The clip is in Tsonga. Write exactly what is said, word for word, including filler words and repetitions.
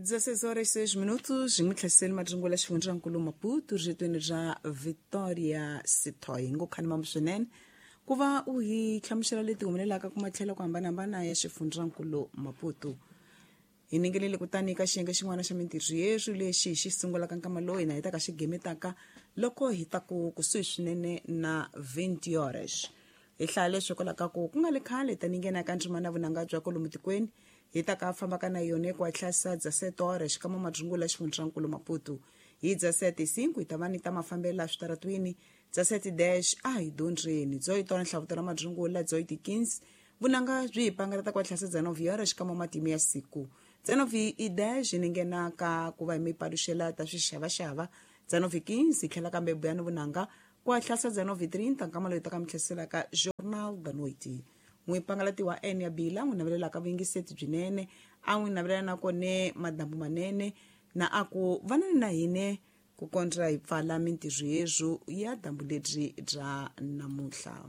dezesseis horas e seis minutos, n'wi tlhaseli madzungula xifundzankulu Maputo riretweni ra Victoria Sithoy ngo khani mambo swinene ku va u hi hlamusela leti humelelaka ku matlhelo ku hambanahambana ya xifundzankulu Maputo. Hi ningelele kutani ka xiyenge xin'wana xa mintirho yeswi lexi hi xi sungulaka nkama lowu hina hi ta ka xi gemetaka loko hi ta ku kusuhi swinene na vinte horas. Hi hlaya leswi hikwalaho ka ku ku nga le khale tani nghena ka ndzimana vunanga bya kwalomu tikweni hi ta ka fambaka na yona ku hatlasa dezessete horas xikan'we madzungula xifundzankulu Maputo. Hi dezessete cinco hi ta va ni ta mafambelo switaratwini, dezessete dez a hi dyondzeni dezoito nhlavutelo ra madzungula, dezoito quinze vunanga byi hi pangalata ku hatlasa dezenove horas xikan'we matimu ya siku, dezenove e dez ni nghena ka ku va hi mi paluxela ta swixavaxava, dezenove quinze hi tlhela kambe buyani vunanga ku hatlasa dezenove trinta nkama loyi ta ka mi tlheliselaka Jornal da Noite. N'wi pangalati wa N ya Bila n'wi navelelaka vuyingiseti byinene, a n'wi navelela na kone madambu manene na a ku vanani na hine ku kondza hi pfala mintirho yeswo ya dambu lebyi bya namuntlha.